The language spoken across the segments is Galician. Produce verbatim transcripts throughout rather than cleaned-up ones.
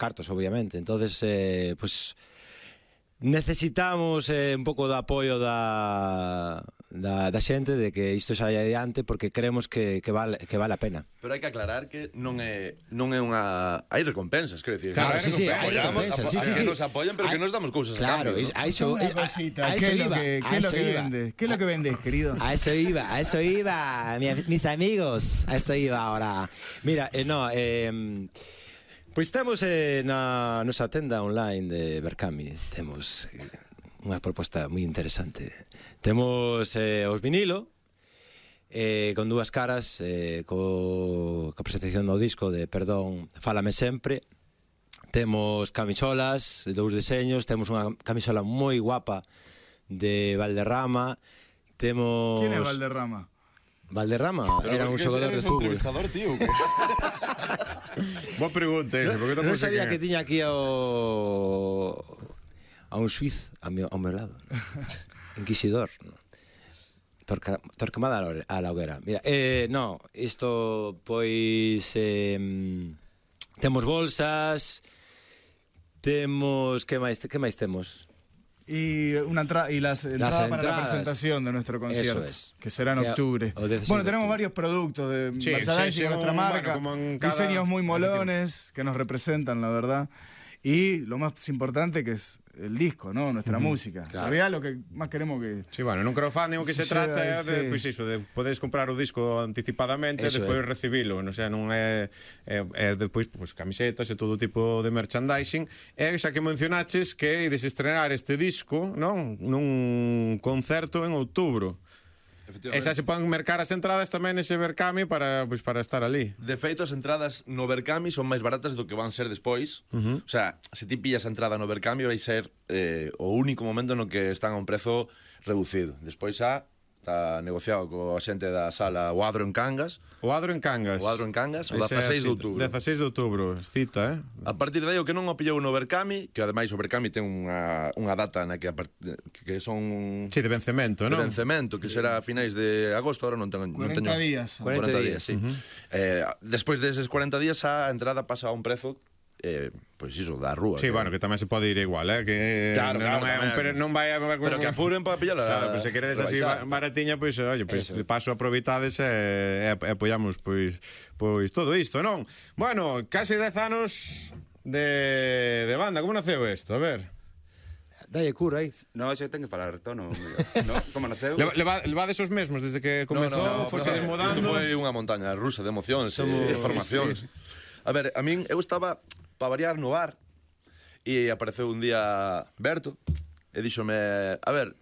cartos, obviamente. Entonces, eh, pues necesitamos eh, un pouco de apoio da, da, da xente de que isto saia adiante, porque creemos que, que, vale, que vale a pena. Pero hai que aclarar que non é non é unha... Hai recompensas, quero dicir. Claro, sí, sí, hai apoyamos, recompensas, apo- sí, sí, que sí. nos apoyan, pero Hay- que nos damos cousas Claro, a cambio, a ¿no? eso, Una a- cosita, a ¿qué eso es lo iba, que, a qué es lo eso que iba. vende? ¿Qué es lo que vendes, querido? A eso iba, a eso iba, mi- mis amigos, a eso iba ahora. Mira, eh, no, eh, pois temos eh, na nosa tenda online de Berkami, temos eh, unha proposta moi interesante. Temos eh, os vinilo, eh, con dúas caras, eh, co, co presentación do disco de Perdón, Fálame Sempre. Temos camisolas, dous deseños, temos unha camisola moi guapa de Valderrama. Temos... ¿Quién es Valderrama? Valderrama Pero era ¿por un qué xogador de eres fútbol. entrevistador, tío? Boa pregunta esa, porque Non tampouco sei sabía quen é. que tiña aquí ao a un suiz a meu, ao meu lado, ¿no? Inquisidor, ¿no? Torca, Torquemada a la hore- a la hoguera. Mira, eh, no, isto pois eh, temos bolsas, temos que máis que máis temos? Y una entrada y las entradas para la entradas. presentación de nuestro concierto, Eso es. que será en Que- octubre. o dieciséis Bueno, de tenemos octubre. varios productos de Sí, merchandising sí, sí, de nuestra un- marca, bueno, como en cada- diseños muy molones que nos representan, la verdad. Y lo más importante que es el disco, ¿no? Nuestra música. Claro. En realidad lo que más queremos que... Sí, bueno, nun crowdfunding o que se Sí, trata é de, sí. pois iso, de podedes comprar o disco anticipadamente e Eso despois é. recibilo, non, o sea, non é, é, é depois pois, camisetas e todo tipo de merchandising. E xa que mencionaches que ides estrenar este disco, non? Nun concerto en outubro. E xa se poden mercar as entradas tamén nese Berkami para, pois, para estar ali. De feito, as entradas no Berkami son máis baratas do que van ser despois. Uh -huh. O sea, se ti pillas a entrada no Berkami vai ser eh, o único momento no que están a un prezo reducido. Despois xa está negociado coa xente da sala O Adro en Cangas. O Adro en Cangas. O Adro en Cangas, o Esa é a dezaseis de cita. outubro. dezaseis de outubro, cita, eh? A partir de aí, o que non o pillou no Berkami, que ademais o Berkami ten unha, unha data na que, a part... que son... Sí, de vencemento, de non? vencemento, que será a finais de agosto, ahora non tengo... non cuarenta teño... días. cuarenta días, sí. Uh -huh. eh, despois deses cuarenta días a entrada pasa a un prezo eh, pois iso, da rúa. Sí, que... bueno, que tamén se pode ir igual, eh? Que Claro, non, claro, non, é un, tamén. pero non vai a... Pero que apuren para pillar a... Claro, pero se queredes así rebaixar. baratiña, pois, oye, pois, Eso. de paso aproveitades e, e apoiamos, pois, pois, todo isto, non? Bueno, case dez anos de, de banda, como naceu isto? A ver... Dalle cura aí. No, xe ten que falar tono. No? Como naceu? Leva, leva, levades os mesmos desde que comezou, no, no, foche no, desmodando. Isto foi unha montaña rusa de emocións e formacións. A ver, a min, eu estaba para variar no bar e apareceu un día Berto e díxome, a ver,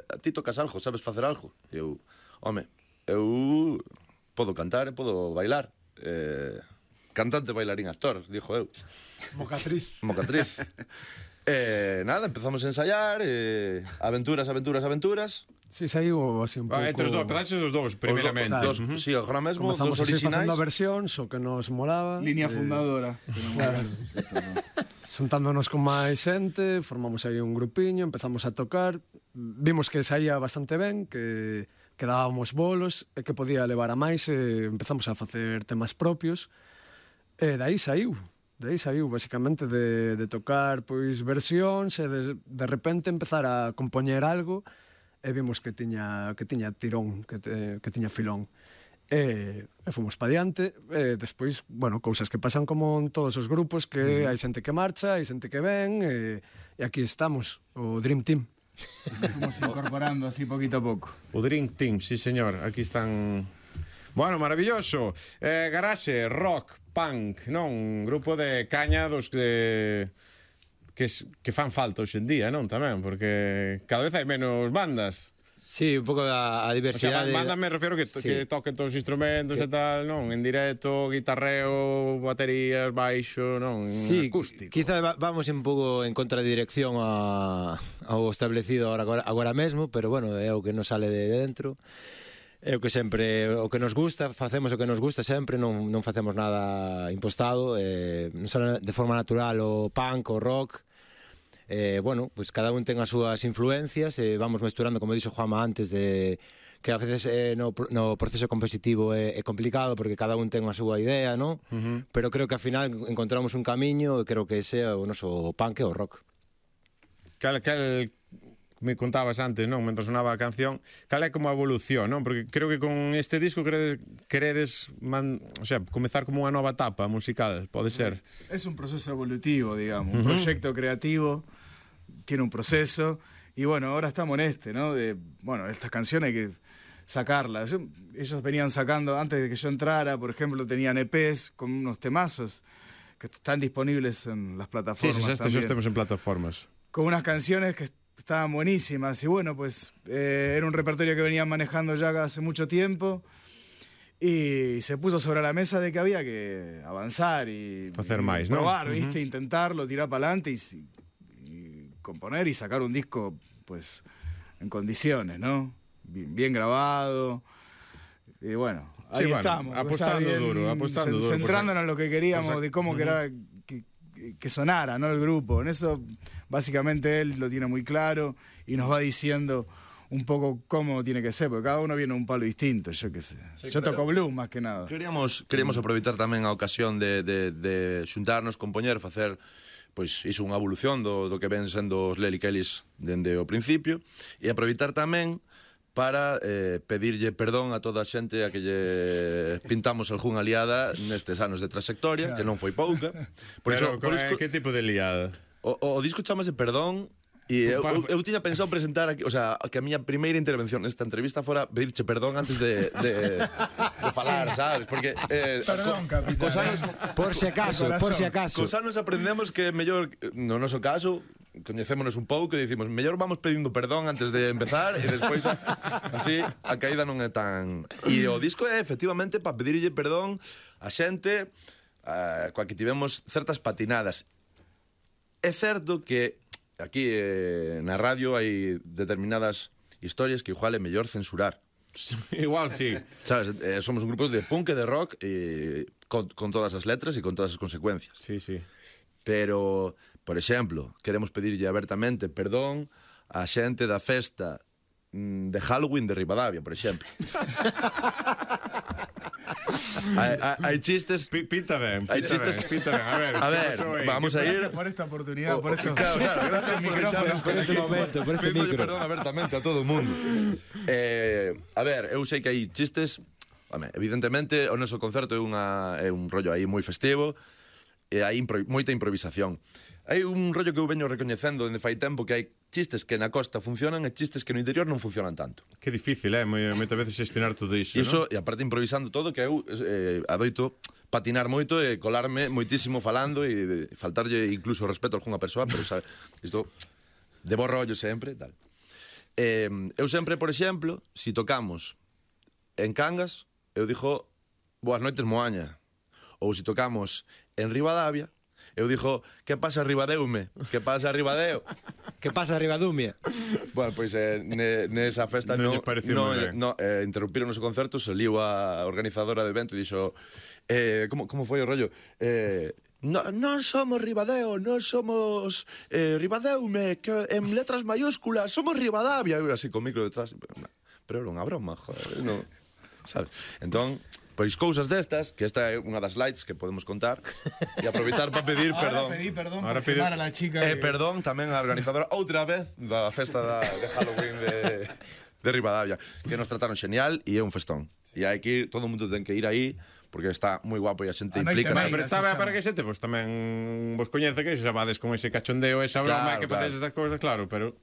a ti tocas algo, sabes facer algo? E eu, home, eu podo cantar e podo bailar. Eh, cantante, bailarín, actor, dixo eu. Mocatriz. Mocatriz. E nada, empezamos a ensaiar, e aventuras, aventuras, aventuras. Sí, saiu así un pouco... Ah, entre os dous, pedaxos os dous, primeiramente. Dos, sí, agora mesmo, Comezamos dos así orixinais. facendo versións, o que nos molaba. Línea eh, fundadora. Xuntándonos con máis xente, formamos aí un grupiño, empezamos a tocar, vimos que saía bastante ben, que, que dábamos bolos e que podía levar a máis, e empezamos a facer temas propios, e dai saiu. De aí saiu, basicamente, de, de tocar pois versións e de, de repente empezar a compoñer algo e vimos que tiña, que tiña tirón, que, te, que tiña filón. E, e fomos pa diante, e despois, bueno, cousas que pasan como en todos os grupos, que hai xente que marcha, hai xente que ven, e, e aquí estamos, o Dream Team. Fuimos incorporando así poquito a poco. O Dream Team, sí señor, aquí están... Bueno, maravilloso. Eh, Garaxe, rock, punk, non? Un grupo de caña dos que... Que, que fan falta hoxe en día, non? Tamén, porque cada vez hai menos bandas. Sí, un pouco a, a O sea, diversidade. banda me refiero que, Sí. que toquen todos os instrumentos e tal, non? En directo, guitarreo, baterías, baixo, non? Sí, Acústico. quizá va- vamos un pouco en contradirección a, ao establecido agora, agora mesmo, pero bueno, é o que nos sale de dentro. É o que sempre, o que nos gusta, facemos o que nos gusta sempre, non, non facemos nada impostado, eh, non sale de forma natural o punk, o rock. Eh, bueno, pues cada un ten as súas influencias, e eh, vamos mesturando, como dixo Juanma antes, de que a veces eh, no, no proceso compositivo é, é complicado porque cada un ten a súa idea, non? Uh-huh. Pero creo que ao final encontramos un camiño e creo que ese é o noso punk e o rock. Cal, cal, me contabas antes, non? Mentre sonaba a canción, cal é como a evolución, non? Porque creo que con este disco queredes, queredes man, o sea, comezar como unha nova etapa musical, pode ser? Es un proceso evolutivo, digamos, un uh-huh. proyecto creativo, tiene un proceso, y bueno, ahora estamos en este, ¿no? De, bueno, estas canciones hay que sacarlas. Yo, ellos venían sacando, antes de que yo entrara, por ejemplo, tenían E Pes con unos temazos que están disponibles en las plataformas. Sí, sí, estos estamos en plataformas. Con unas canciones que estaban buenísimas y bueno, pues eh, era un repertorio que venían manejando ya hace mucho tiempo y se puso sobre la mesa de que había que avanzar y, hacer y más, probar, ¿no? ¿viste? Uh-huh. Intentarlo, tirar para adelante y, y componer y sacar un disco pues en condiciones, ¿no? Bien, bien grabado y bueno, ahí sí, bueno, estamos. Apostando bien, duro, apostando duro. Centrándonos en lo que queríamos, pues, de cómo uh-huh. quería que, que sonara, ¿no? El grupo. En eso, básicamente, él lo tiene muy claro y nos va diciendo un poco cómo tiene que ser, porque cada uno viene a un palo distinto, yo qué sé. Sí, yo toco blues, más que nada. Queríamos, queríamos aproveitar tamén a ocasión de, de, de xuntarnos, compoñer, facer pois iso unha evolución do, do que ven sendo os Lely Kellys dende o principio, e aproveitar tamén para eh, pedirlle perdón a toda a xente a que lle pintamos algunha liada nestes anos de trayectoria, claro. Que non foi pouca. Por Pero, iso, por iso, que tipo de liada? O, o, o disco chamase Perdón, e eu, eu, eu tiña pensado presentar aquí, o sea, que a miña primeira intervención nesta entrevista fora pedirche perdón antes de, de, de falar, sí. Sabes? Porque eh, perdón, co, capitán. Cos anos, por si acaso, por si acaso. Cos anos aprendemos que mellor, no noso caso, coñecémonos un pouco e dicimos mellor vamos pedindo perdón antes de empezar e despois así a caída non é tan... E o disco é efectivamente para pedirlle perdón a xente uh, coa que tivemos certas patinadas. É certo que aquí eh, na radio hai determinadas historias que igual é mellor censurar. Igual, sí. Sabes, eh, somos un grupo de punk e de rock e con, con todas as letras e con todas as consecuencias. Sí, sí. Pero, por exemplo, queremos pedirlle abertamente perdón á xente da festa de Halloween de Ribadavia, por exemplo. hai, hai, hai chistes... P pinta ben, pinta hai chistes... ben, pinta ben. A ver, a ver vamos a ir... Gracias por esta oportunidad, por esto... Claro, claro, gracias por deixarnos por este momento, por este micro. Perdón abertamente a todo o mundo. Eh, a ver, eu sei que hai chistes... Home, evidentemente, o noso concerto é, unha, é un rollo aí moi festivo e hai impro moita improvisación. Hai un rollo que eu veño recoñecendo dende fai tempo que hai chistes que na costa funcionan e chistes que no interior non funcionan tanto. Que difícil, eh? Moitas veces xestionar todo iso, Iso, ¿no? E aparte improvisando todo, que eu eh, adoito patinar moito e colarme moitísimo falando e faltarlle incluso respeto a algunha persoa, pero sabe, isto de bo rollo sempre, tal. Eh, eu sempre, por exemplo, si tocamos en Cangas, eu dixo boas noites Moaña. Ou se si tocamos en Ribadavia, eu dixo, que pasa Ribadeume? Que pasa Ribadeo? Que pasa Ribadumia? Bueno, pois eh, ne, nesa festa non no, lle pareceu no, moi ben. no, eh, interrumpiron o concerto, saliu a organizadora do evento e dixo eh, como, como foi o rollo? Eh, no, non somos Ribadeo, non somos eh, Ribadeume, que en letras mayúsculas somos Ribadavia. Eu así con micro detrás, pero era unha broma, joder, no, sabes? Entón, pois cousas destas, que esta é unha das lights que podemos contar, e aproveitar para pedir perdón. Ahora pedí perdón Ahora por pedi... quemar a la chica. E eh, que... perdón tamén a organizadora outra vez da festa da, de Halloween de, de Ribadavia, que nos trataron xenial e é un festón. E hai que ir, todo o mundo ten que ir aí, porque está moi guapo e a xente A noite implica. máis. Pero está ben para que xente, pois tamén vos coñece que se vades con ese cachondeo, esa broma, Claro, que claro. facedes estas cousas, claro, pero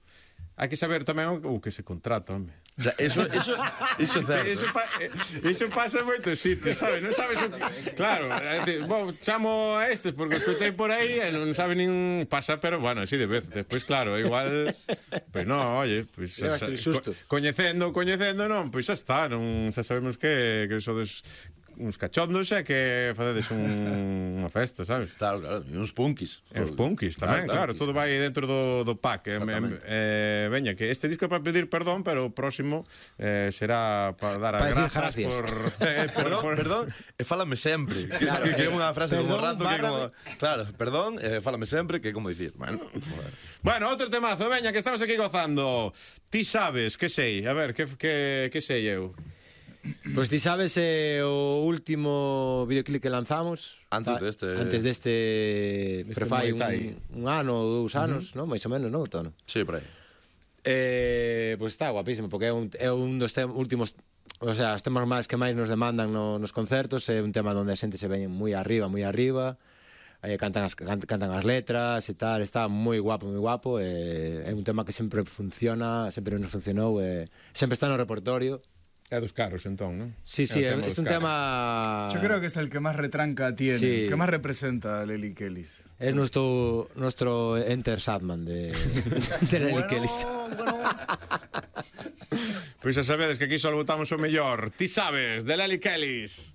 hai que saber tamén o que se contrata, home. O sea, eso, eso, eso é certo. Iso, pa, iso pasa en moitos sitios, sabes? Non sabes o que... Claro, eh, bo, chamo a estes porque os escutei por aí e non sabe nin pasa, pero bueno, así de vez. Despois, claro, igual... Pois pues non, oye, pois... Pues, Levaste el susto. Co coñecendo, coñecendo, non, pois pues xa está, non xa sabemos que, que sodes uns cachondos e que facedes un, unha festa, sabes? Claro, claro, e uns punkis. E os punkis tamén, claro, todo vai dentro do, do pack. Eh, eh, veña, que este disco é para pedir perdón, pero o próximo eh, será para dar as Para grazas decir gracias. por... Eh, perdón, por- perdón, e fálame sempre. Que, Claro, que, que é eh, unha frase como perdón, rato que é como, bárrame. claro, perdón, eh, fálame sempre, que é como dicir, bueno, bueno. Bueno, outro temazo, veña, que estamos aquí gozando. Ti sabes, que sei? A ver, que, que, que sei eu? Pois ti sabes eh, o último videoclip que lanzamos Antes fa- deste- Antes deste Pero fai Muay Thai. un, un ano ou dous anos, non? Mais ou menos, non, Tono? Sí, por aí. Eh, pois está guapísimo, porque é un, é un dos tem, últimos, o sea, os temas máis que máis nos demandan no, nos concertos. É un tema onde a xente se ven moi arriba, moi arriba, eh, cantan, as, can, cantan as letras e tal. Está moi guapo, moi guapo, eh, é un tema que sempre funciona, sempre nos funcionou, eh, sempre está no repertorio. É dos caros, entón, non? Sí, sí, É é, o tema es dos un caros. tema... Yo creo que es el que más retranca tiene, Sí. que más representa a Lely Kellys. Es nuestro, nuestro Enter Sadman de, de Lely Kellys. Pois xa sabedes que aquí só votamos o mellor. Ti sabes, de Lely Kellys.